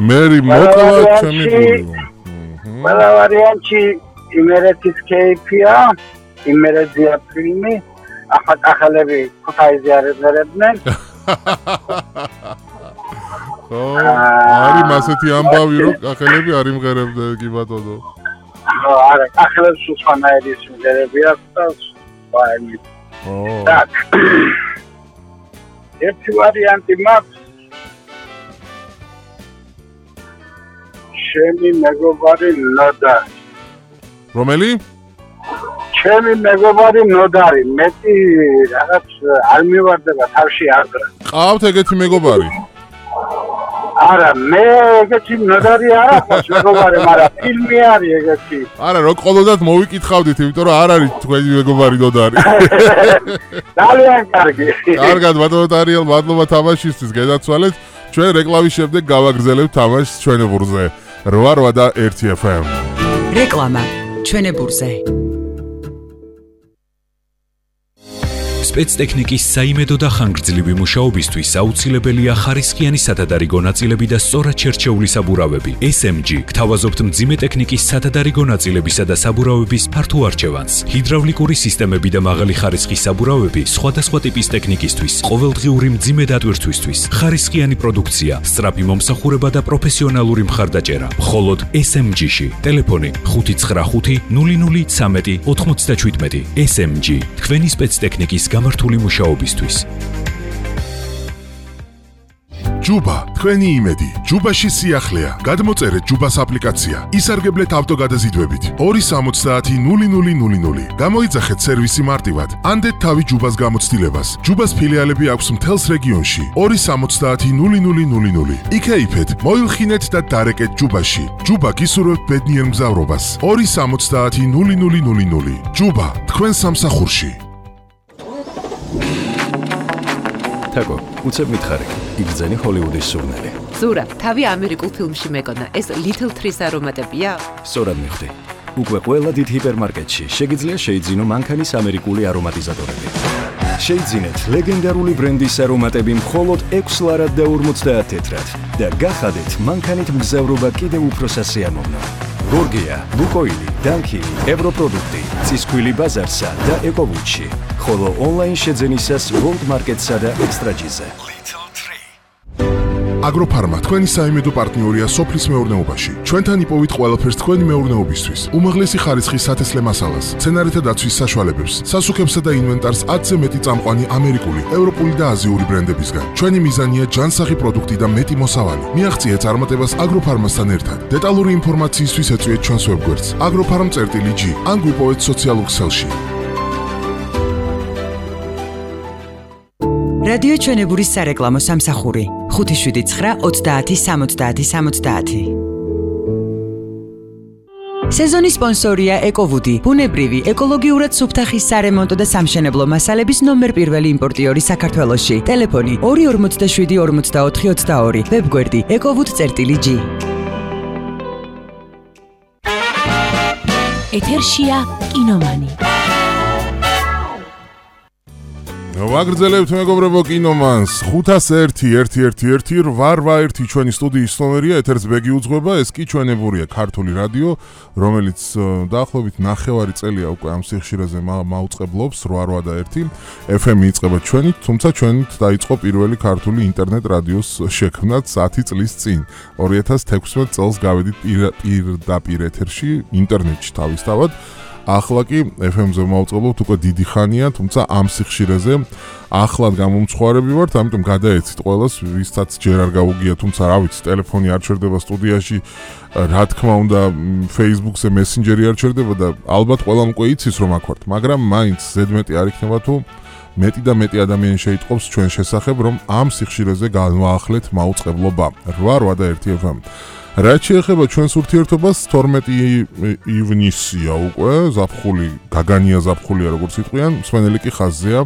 მერი მოკლა ჩემი გული. ყველა ვარიანტი იმერეთის кейფია, იმერეთზეა ფილმი, ახალები ქუთაისზე არებდნენ. არის მასეთი ამბავი რომ ახალები არ იმღერებდნენ კი ბატონო. არა, ახალებს უცხოანაირი სიმღერები აქვს და ვაიმე. Так. ერთი ვარიანტი მაქვს. ჩემი მეგობარი ნოდარი. რომელი? ჩემი მეგობარი ნოდარი. მეტი რაღაც არ მივარდება თავში აღრა. ყავთ ეგეთი მეგობარი? არა, მე ეგეთი ნოდარი არ აქვს მეგობარი, მაგრამ ფილმი არის ეგეთი. არა, რო ყოლოდათ მოვიკითხავდით, იმიტომ რომ არ არის თქვენი მეგობარი ნოდარი. ძალიან კარგი. კარგად, ბატონო ტარიელ, მადლობა თამაშისთვის, გადაცვალეთ. ჩვენ რეკლამის შემდეგ გავაგრძელებთ თამაშს ჩვენებურზე. 8 და 1 FM. რეკლამა ჩვენებურზე. სპეცტექნიკის საიმედო და ხანგრძლივი მუშაობისთვის აუცილებელია ხარისხიანი სათადარიგო ნაწილები და სწორად შერჩეული საბურავები. SMG გთავაზობთ მძიმე ტექნიკის სათადარიგო ნაწილებისა და საბურავების ფართო არჩევანს. ჰიდრავლიკური სისტემები და მაღალი ხარისხის საბურავები სხვადასხვა ტიპის ტექნიკისთვის, ყოველდღიური მძიმე დატვირთვისთვის. ხარისხიანი პროდუქცია, სწრაფი მომსახურება და პროფესიონალური მხარდაჭერა. მხოლოდ SMG-ში. ტელეფონი 595 0013 97. SMG თქვენი სპეცტექნიკის გამართული მუშაობისთვის. ჯუბა, თქვენი იმედი. ჯუბაში სიახლეა. გადმოწერეთ ჯუბას აპლიკაცია. ისარგებლეთ ავტოგადაზიდვებით. 270-0000. გამოიძახეთ სერვისი მარტივად. ანდეთ თავი ჯუბას გამოცდილებას. ჯუბას ფილიალები აქვს მთელს რეგიონში. 270-0000. იქეიფეთ, მოილხინეთ და დარეკეთ ჯუბაში. ჯუბა გისურვებთ ბედნიერ მგზავრობას. 270-0000. ჯუბა, თქვენ სამსახურში. თაკო, უცებ მითხარი, იგრძენი ჰოლივუდის სურნელი. ზურა, თავი ამერიკულ ფილმში მეკონა, ეს Little Trees არომატებია? სწორად მიხვდი. უკვე ყველა დიდ ჰიპერმარკეტში შეგიძლია შეიძინო მანქანის ამერიკული არომატიზატორები. შეიძინეთ ლეგენდარული ბრენდის არომატები მხოლოდ 6 ლარად და 50 თეთრად და გახადეთ მანქანით მგზავრობა კიდევ უფრო სასიამოვნო. გორგია, ლუკოილი, დანკილი, ევროპროდუქტი, ცისქვილი ბაზარსა და ეკოვუჩი. ხოლო ონლაინ შეძენისას World Market-სა და ექსტრაჯიზე. აგროფარმა თქვენი საიმედო პარტნიორია სოფლის მეურნეობაში. ჩვენთან იპოვით ყველაფერს თქვენი მეურნეობისთვის. უმაღლესი ხარისხის სათესლე მასალას, მცენარეთა დაცვის საშუალებებს, სასუქებსა და ინვენტარს 10-ზე მეტი წამყვანი ამერიკული, ევროპული და აზიური ბრენდებისგან. ჩვენი მიზანია ჯანსაღი პროდუქტი და მეტი მოსავალი. მიაღწიეთ წარმატებას აგროფარმასთან ერთად. დეტალური ინფორმაციისთვის ეწვიეთ ჩვენს ვებგვერდს agrofarm.g ან გვიპოვეთ სოციალურ ქსელში. რადიო ჩვენებურის სარეკლამო სამსახური 579-30-70-70. სეზონის სპონსორია ეკოვუდი, ბუნებრივი, ეკოლოგიურად სუფთა ხის სარემონტო და სამშენებლო მასალების ნომერ პირველი იმპორტიორი საქართველოში. ტელეფონი 247-44-22, ვებგვერდი ekovud.g. ეთერშია კინომანი. ვაგრძელებთ მეგობრებო კინომანს 501-111-881 ჩვენი სტუდიის ნომერია, ეთერს ბეგი უძღვება, ეს კი ჩვენებურია ქართული რადიო, რომელიც დაახლოებით 9 წელია უკვე ამ სიხშირეზე მაუწყებლობს 881 FM იწყება ჩვენით, თუმცა ჩვენით დაიწყო პირველი ქართული ინტერნეტ რადიოს შექმნაც 10 წლის წინ 2016 წელს გავედით პირდაპირ ეთერში ინტერნეტში თავისთავად. ახლა კი FM-ზე მოვწყობთ უკვე დიდი ხანია, თუმცა ამ სიხშირეზე ახლად გამომცხვარები ვართ, ამიტომ გადაეცით ყველას, ვისაც ჯერ არ გაუგია, თუმცა რა ვიცი, ტელეფონი არ ჩერდება სტუდიაში, რა თქმა უნდა, Facebook-ზე Messenger-ი არ ჩერდება და ალბათ ყველამ უკვე იცის რომ აქ ვართ, მაგრამ მაინც ზედმეტი არ იქნება თუ მეტი და მეტი ადამიანი შეიტყობს ჩვენ შესახებ, რომ ამ სიხშირეზე განვაახლეთ მაუწყებლობა 881 FM. რაც შეეხება ჩვენს ურთიერთობას 12 ივნისია უკვე, ზაფხული, გაგანია ზაფხულია როგორც იტყვიან, მსვენელი კი ხაზზეა.